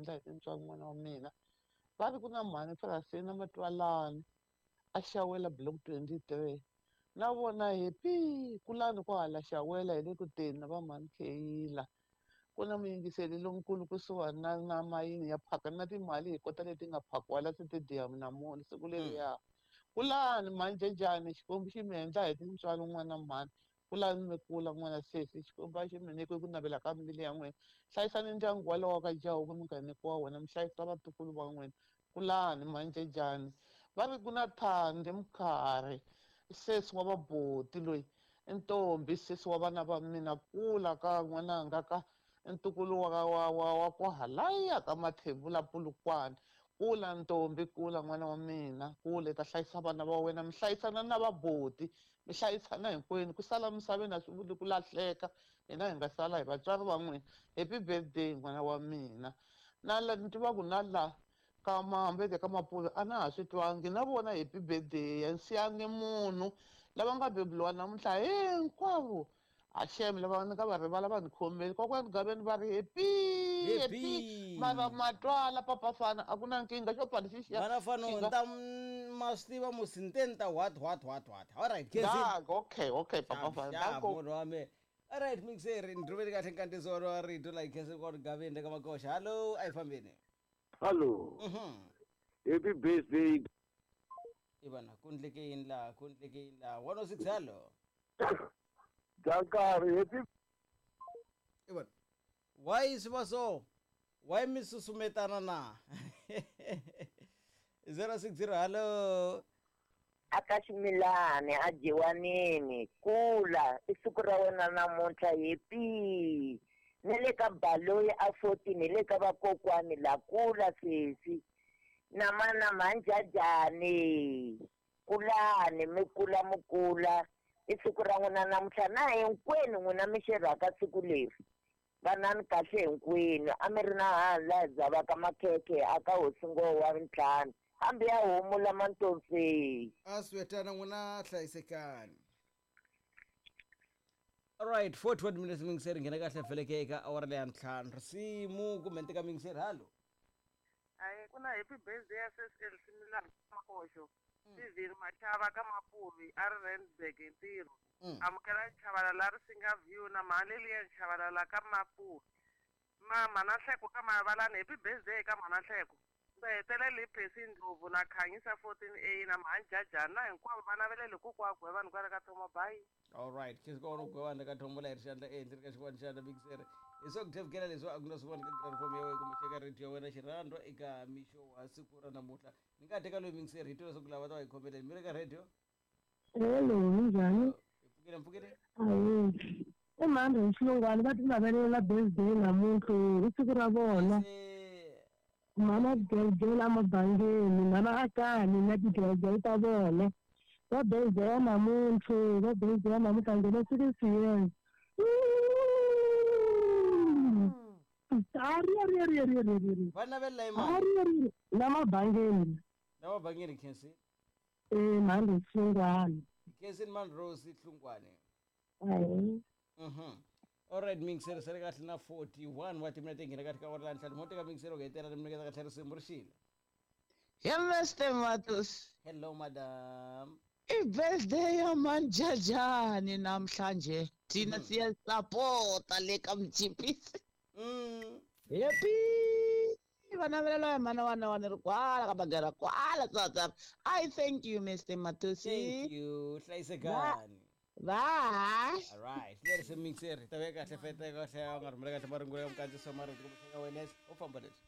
endla hi tintswalo n'wana wa mina. Va ri ku na mhani Frasina Matwalani a xawela block 23 na vona happy kulani ko hala xawela hi le ku teni na va mhani Kheyila. Ku na muyingiseli lonkulu kusuhani na mayini ya phaka na timali hi kota leti nga phakiwa la stadium namuntlha siku leriya. Kulani mhani Xikwembu xi mi endla hi tintswalo n'wana mhani. Kulani mi kula n'wana sesi Xikwembu a xi mi nyike ku navela ka mbilu ya n'wina. Hlayisani ndyangu walowo ka jaha mi nga nyikiwa wona mi hlayisa vatukulu va n'wina. Kulani mhani Va ri ku na Thandi Mkhari sesi wa vaboti loyi ntombi sesi wa vana va mina kula ka n'wananga ka ntukulu wa kwahalaya ka Mathebula Polokwane. Kula ntombi kula n'wana wa mina kula i ta hlayisa vana va wena mi hlayisana na vaboti mi hlayisana hinkwenu ku sala misaveni a swi vuli ku lahleka hina hi nga sala hi vatswari va n'wina. Happy birthday n'wana wa mina. Na la ni tiva ku na la ka Mambeke ka Mapuve a na ha swi twangi na vona happy birthday ya siyangi munhu lava nga beburiwa namuntlha hinkwavo Hashem lava ni nga va rivala va ni khomeli kokwani Gaveni va ri happy happy mara matwala papa fana a ku na nkingha xo pfala xi Vana fana nta ma swi tiva musi ni te ni ta what what what what all right Kezi okay okay papa fana danko munhu wa me all right mixer ni rhumeli kahle nkandziso wa rito la Kezi kwa Gaveni le ka Makoxa hallo a hi fambeni hallo happy birthday ivana ku ndleke yini laha ku ndleke yini laha 106 hallo Dankari happy Ivana why swi va so why mi susumetana na 060 hallo aka ximilani a dyiwanini kula i siku ra wena namuntlha happy ni le ka baloyi a 14 hi le ka vakokwani la kula sesi na mana mhanjajani kulani mi kula mi kula i siku ra n'wina namuntlha na hinkwenu n'wina mi xerhaka siku leri vanani kahle hinkwenu a mi ri na hala hi dzavaka makhekhe aka hosi ngoho wa ntlhanu hambi ya homu lama ntomfei a swetana n'wina hlayisekani alright 41 minutes mingiseri nghena kahle feleke eka awara leya ntlhanu risimu kumbe ntika mingiseri hallo Ayi ku na happy birthday ya sesi Elsie Milani Makoxo Steven Machava ka Mapuvi a ri Randburg hi ntirho amukela Chavalala ri singa view na mhani Lilian Chavalala ka Mapuvi mama na Nhleko ka Mavalani happy birthday ka mhana Nhleko ndzi hetelele hi Percy Ndlovu na Khanyisa 14A na mhani Jajani na hinkwavo va navelele kokwa Gwevani kwale ka Thoma bye. All right khe kona ugwevani ka Thoma la hi ri xandla ehenhla ka xin'wana xandla mixere hi swa ku thevukela leswi a ku na swin'wana ka platform ya wena kumbe eka radio ya wena xirhandwa eka mixo wa siku ra namuntlha ni nga teka loyi mixere hi twa leswaku lava ta va hi khomeleni mi ri ka radio. Hello minjhani? Hi pfukile mpfukile. Ayi i mhani hi xilungwani va ti navelela birthday namuntlha i siku ra vona. Mhana tigelegele emabangeni mhana akani na tigelegele ta vona va birthday namuntlha va birthday namuntlha nghena 6 years. Ari va navelela hi mani ari la mabangeni la mabangeni Khensi mhani xilungwani Khensi mani Rose Hlungwani. Ayi Alright mixer sele kahle na 41 wa timinete nghena kahle ka awara la ntlhanu mo teka mixer u hetelela mi nyiketa kahle risimu ri xile. Hi Mr Matus. Hello madam. I birthday ya Manjajani namhlanje thina siyasapota le ka Mchipisi. Happy va navelela ya mana wana wana ri kwala ka bagara kwala tsatsa. I thank you Mr Matusi. Thank you hlayisekani. Bye. All right leri se mixer ta veka kahle fete kahle a nga rhumela kahle marungulo ya mukandziso marito kumbe ka wena u famba leswi.